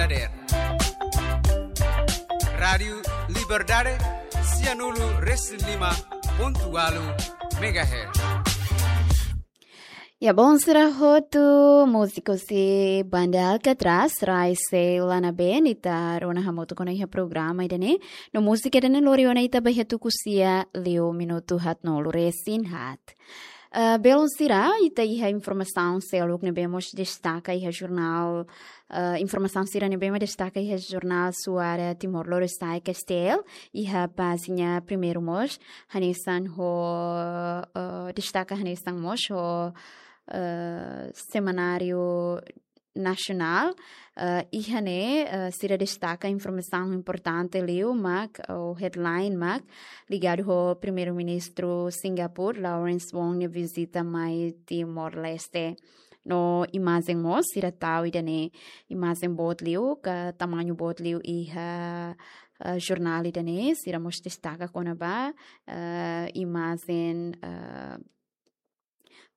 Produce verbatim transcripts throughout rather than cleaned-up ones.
Dader. Rádiu Liberdade, sianulu resin lima pontu ualu megahertz. Ya, bon, sira hotu, múziku husi banda Alcatraz, Rai Sei Lana Ben, ita rona hamutuk ona iha programa ida-ne'e. No múzika ida-ne'e lori ona ita ba iha tuku sia liu minutu haatnulu resin haat. Eh, belun sira, ita iha informasaun seluk ne'ebé mós destaka iha jornál, eh, informasaun sira ne'ebé mós destaka iha jornál Suara Timor Lorosa'e, K S T L, iha pájina primeiru mós, hanesan ho, eh, destaka hanesan mós ho, eh, semanáriu nasionál, eh, iha ne'e, eh, sira destaka informasaun importante liu mak, ou headline mak, ligadu ho Primeiru-Ministru Singapura, Lawrence Wong nia vizita mai Timor-Leste. No imajen mós, sira tau ida-ne'e imajen boot liu, ka tamañu boot liu iha, eh, jornál ida-ne'e, sira mós destaka kona-ba, eh, imajen, eh,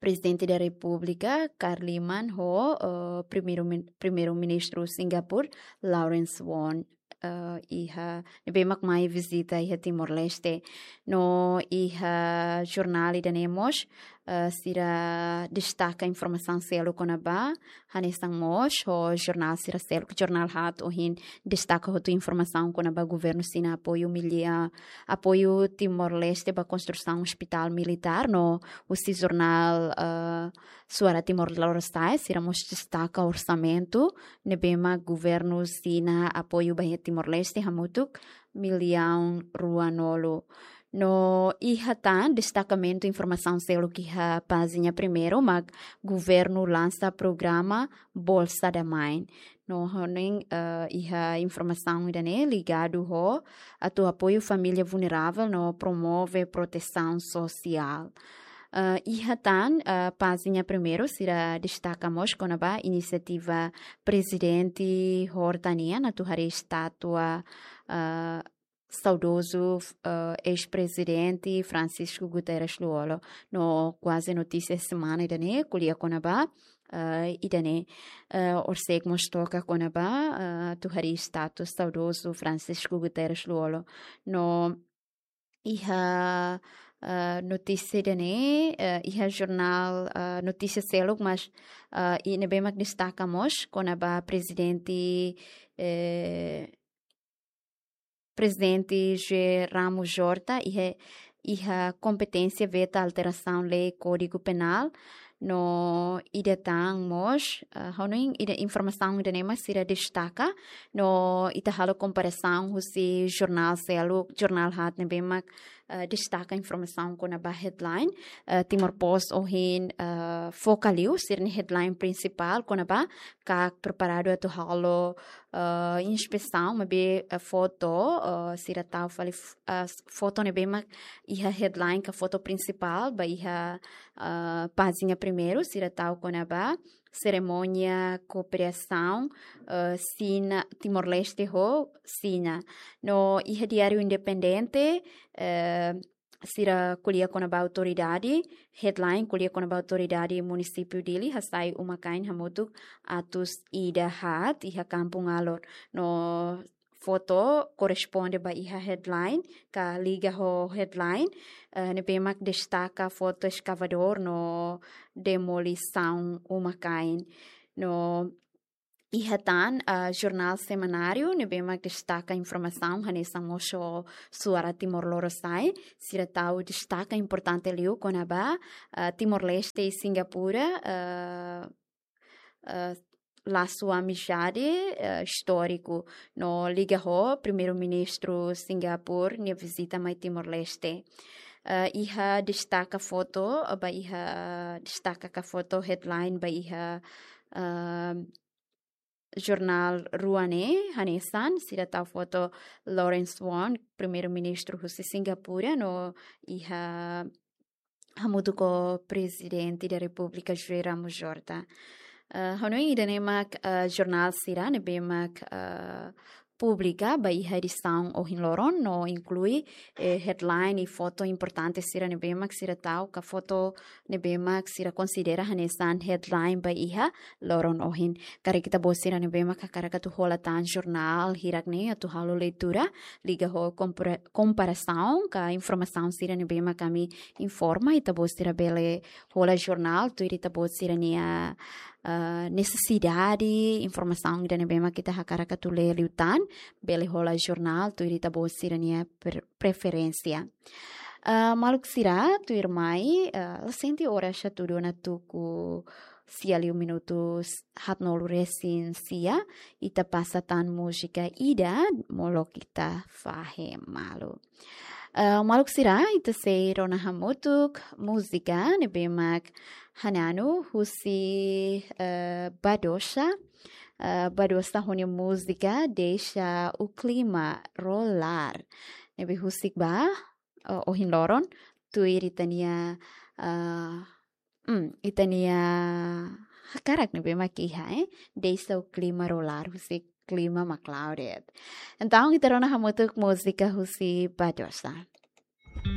Prezidente da Repúblika, Kharliman, ho, eh, Primeiru-Min-, Primeiru-Ministru Singapura, Lawrence Wong, eh, iha, ne'ebé mak mai vizita iha Timor-Leste. No iha jornál ida-ne'e mós, eh, sira destaka informasaun seluk kona-ba, hanesan mós ho jornál sira seluk, jornál haat ohin destaka hotu informasaun kona-ba governu Xina apoiu milia-, apoiu Timor-Leste ba konstrusaun ospitál militár, no husi jornál, eh, Suara Timor Lorosa'e, sira mós destaka orsamentu ne'ebé mak governu Xina apoiu ba iha Timor-Leste hamutuk millaun ruanulu. No iha tan destakamentu informasaun seluk iha pájina primeiru mak governu lansa programa Bolsa da Mãe. No hanoin, eh, iha informasaun ida-ne'e ligadu ho atu apoiu família vulneravel no promove protesaun sosiál. Eh, iha tan, eh, pájina primeiru sira destaka mós kona-ba inisiativa Prezidente Horta nian atu harii estátua, eh, saudozu, eh, eis-prezidente Francisco Guterres Lú-Olo. No kuaze notísia semana ida-ne'e ko'alia kona-ba, eh, ida-ne'e, eh, horiseik mós toka kona-ba, eh, atu harii estátua saudozu Francisco Guterres Lú-Olo. No iha, eh, notísia ida-ne'e, eh, iha jornál, eh, notísia seluk, mas, eh, i ne'ebé mak destaka mós kona-ba prezidente, eh, Prezidente José Ramos Horta iha, iha kompeténsia veta alterasaun lei Kódigu Penál, no ida tan mós, eh, hanoin ida informasaun ida-ne'e mak sira destaka, no ita halo komparasaun husi jornál seluk, jornál haat ne'ebé mak, eh, destaka informasaun kona-ba headline, eh, Timor Post ohin, eh, foka liu, sira-nia headline prinsipál kona-ba KAK preparadu atu halo, eh, inspesaun, maibé, eh, foto, eh, sira tau fali f-, eh, s-, foto ne'ebé mak iha headline ka foto prinsipál, ba iha, eh, pájina primeiru, sira tau kona-ba serimónia kooperasaun, eh, Xina, Timor-Leste ho Xina. No iha Diáriu Independente, eh, sira ko'alia kona-ba autoridade, headline ko'alia kona-ba autoridade munisípiu Dili hasai uma-kain hamutuk atus ida haat iha Kampung Alor. No foto korresponde ba iha headline, ka liga ho headline, eh, ne'ebé mak destaka foto eskavadór no demolisaun uma-kain. No iha tan, ah, jornál semanáriu ne'ebé mak destaka informasaun hanesan mós ho Suara Timor Lorosa'e, sira tau destaka importante liu kona-ba, ah, Timor-Leste i Singapura, ah, ah, lasu amizade, ah, istóriku, no liga ho Primeiru-Ministru Singapura nia vizita mai Timor-Leste. Ah, iha destaka foto, ah, ba iha destaka ka foto headline ba iha, ah, jornál rua ne'e, hanesan, sira tau foto Lawrence Wong, Primeiru-Ministru husi Singapura, no iha hamutuk ho Prezidente da Repúblika José Ramos Horta. Eh, hanoin ida-ne'e mak, eh, jornál sira ne'ebé mak, eh, publika ba iha edisaun ohin loron no inklui, eh, headline i foto importante sira ne'ebé mak sira tau ka foto ne'ebé mak sira konsidera hanesan headline ba iha loron ohin. Karik ita-boot sira ne'ebé mak hakarak atu hola tan jornál hirak-ne'e atu halo leitura liga ho kompara-, komparasaun ka informasaun sira ne'ebé mak ami informa, ita-boot sira bele hola jornál tuir ita-boot sira-nia, ah, nesesidade, informasaun ida ne'ebé mak ita hakarak atu lee liután, bele hola jornál tuir ita-boot sira-nia per-, preferénsia. Ah, maluk sira, tuirmai, ah, la sente oras atu dona tuku sia liu minutu haatnulu-resin-sia, ita pasa tan múzika ida, molok ita fahe malu. Ah, maluk sira, ita sei rona hamutuk múzika ne'ebé mak Hananu husi, eh, Badosa. Eh, Badosa ho nia múzika Deixa o Clima Rolar. Ne'ebé husik ba, eh, ohin loron, tuir ita-nia, eh, hmm, ita-nia hakarak ne'ebé mak iha, eh? Deixa o clima rolar, husi klima mak la'o de'it. Entaun, ita rona hamutuk múzika husi Badosa.